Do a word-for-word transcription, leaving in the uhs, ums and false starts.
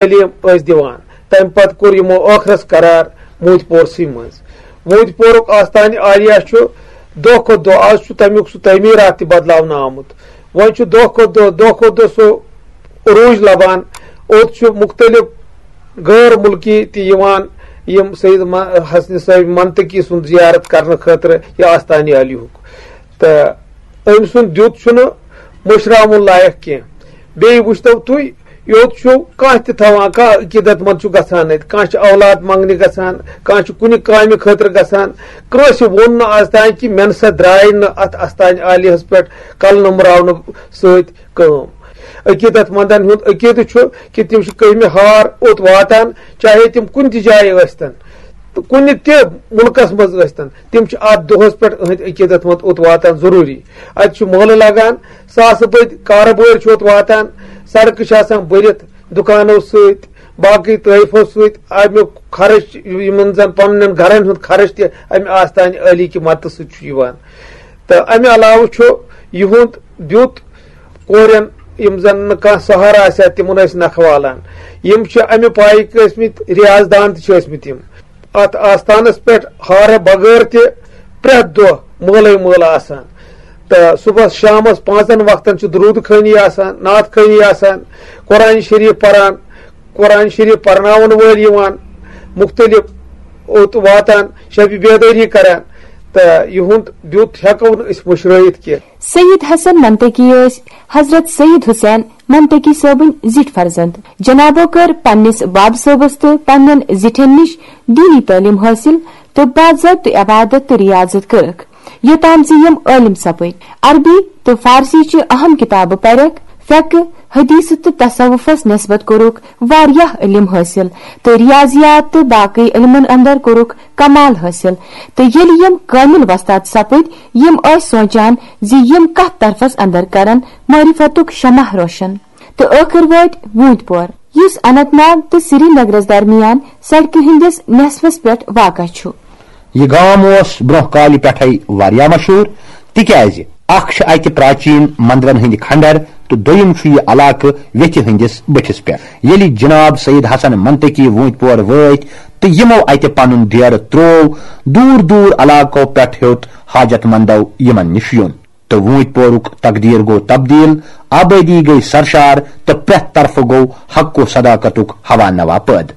تعلیٖم ٲسۍ دِوان۔ تَمہِ پتہٕ کوٚر یِمو ٲخرس قرار موٗدۍ پورسٕے منٛز۔ موٗدۍ پورُک آستانہِ عالیہ چھُ دۄہ کھۄتہٕ دۄہ، آز چھُ تَمیُک سُہ تعمیٖرات تہِ بدلاونہٕ آمُت۔ وۄنۍ چھُ دۄہ کھۄتہٕ دۄہ، دۄہ کھۄتہٕ دۄہ سُہ عروٗج لبان۔ اوٚت چھُ مُختٔلِف غٲر مُلکی تہِ یِوان، یِم سید م-، حسنِ صٲب منطقی سُنٛد زیارت کرنہٕ خٲطرٕ یا آستانہِ عالیہُک۔ تہٕ أمۍ سُنٛد دیُت چھُنہٕ مٔشراوُن لایق کینٛہہ۔ بیٚیہِ وٕچھتو تُہۍ، یوٚت چھُ کانٛہہ تہِ تھاوان، کانٛہہ عقیٖدت مند چھُ گژھان اَتہِ، کانٛہہ چھُ اولاد منٛگنہِ گژھان، کانٛہہ چھُ کُنہِ کامہِ خٲطرٕ گژھان۔ کٲنٛسہِ ووٚن نہٕ آز تام کہِ مےٚ نسا درٛاے نہٕ اَتھ آستانہِ عالیہس پٮ۪ٹھ کلہٕ نمراونہٕ سۭتۍ کٲم۔ عقیٖدت مندن ہُنٛد عقیٖدٕ چھُ کہِ تِم چھِ کٔہمہِ ہار اوٚت واتان، چاہے تِم کُنہِ تہِ جایہِ ٲسۍتن، تہٕ کُنہِ تہِ مُلکس منٛز ٲسۍتن، تِم چھِ اتھ دۄہس پٮ۪ٹھ أہنٛدۍ عقیٖدت مند اوٚت واتان ضروٗری۔ اتہِ چھُ مٲلہٕ لگان، ساسہٕ بٔدۍ کارٕبٲرۍ چھِ اوٚت واتان، سڑکہٕ چھِ آسان بٔرِتھ دُکانو سۭتۍ، باقٕے طٲیفو سۭتۍ، امیُک خرٕچ، یِمن زن پننٮ۪ن گرن ہُنٛد خرٕچ تہِ امہِ آستانہِ عٲلی کہِ مدتہٕ سۭتۍ چھُ یِوان۔ تہٕ امہِ علاوٕ چھُ یِہُنٛد دیُت کورٮ۪ن، یِم زن نہٕ کانٛہہ سہارٕ آسہِ ہا، تِمن ٲسۍ نکھٕ والان۔ یِم چھِ امہِ پایِکۍ ٲسۍ مٕتۍ، ریاض دان تہِ چھِ ٲسۍ مٕتۍ یِم۔ اتھ آستانس پٮ۪ٹھ ہارٕ بغٲر تہِ پرٛٮ۪تھ دۄہ مٲلے مٲلہٕ آسان۔ تہٕ صُبحس شامس پانٛژن وقتن چھِ درود خٲنی آسان، نعت خٲنی آسان، قرآن شریف پران، قرآن شریف پرناون وٲلۍ یِوان، مُختٔلِف اوٚت واتان، شبِ بیدٲری کران۔ تہٕ یِہُنٛد دیُت ہٮ۪کو نہٕ أسۍ مٔشرٲیِتھ کینٛہہ۔ سید حسن منطقی ٲسۍ حضرت سید حسین منطقی صٲبٕنۍ زِٹھۍ فرزند۔ جنابو کٔر پننِس باب صٲبس تہٕ پننٮ۪ن زِٹھٮ۪ن نِش دیٖنی تعلیٖم حٲصِل تہٕ باضٲبطہٕ عبادت تہٕ ریاضت کٔرٕکھ، یوٚتام زِ یِم عٲلِم سپٕدۍ۔ عربی تہٕ فارسی چہِ اہم کِتابہٕ پرکھ، فقہ، حدیث تہٕ تصوفس نسبت کوٚرُکھ واریاہ علم حٲصِل تہٕ ریاضیات تہٕ باقٕے علمن اندر کوٚرُکھ کمال حٲصِل۔ تہٕ ییٚلہِ یِم کٲمِل وۄستاد سپٕدۍ، یِم ٲسۍ سونچان زِ یِم کتھ طرفس اندر کرن معرفتُک شمع روشن۔ تہٕ ٲخٕر وٲتۍ ووٗنتۍ پور، یُس اننت ناگ تہٕ سری نگرس درمیان سڑکہِ ہٕنٛدِس نصفس پٮ۪ٹھ واقع چھُ۔ یہِ گام اوس برونٛہہ کالہِ پٮ۪ٹھے واریاہ مشہوٗر، تِکیازِ اکھ چھِ اتہِ پراچین مندرن ہٕنٛدۍ کھنڈر تہٕ دوٚیِم چھُ یہِ علاقہٕ ویٚتھِ ہٕنٛدِس بٔٹھِس پٮ۪ٹھ۔ ییٚلہِ جناب سید حسن منطقی ووٗنتۍ پور وٲتۍ تہٕ یِمو اتہِ پنُن ڈیرٕ تروو، دوٗر دوٗر علاقو پٮ۪ٹھ ہیوٚت حاجت مندو یِمن نِش یُن۔ تہٕ ووٗنتۍ پورُک تقدیر گوٚو تبدیل، آبٲدی گٔیہِ سرشار تہٕ پرٛٮ۪تھ طرفہٕ گوٚو حق و صداقتُک ہوا نوا پٲدٕ۔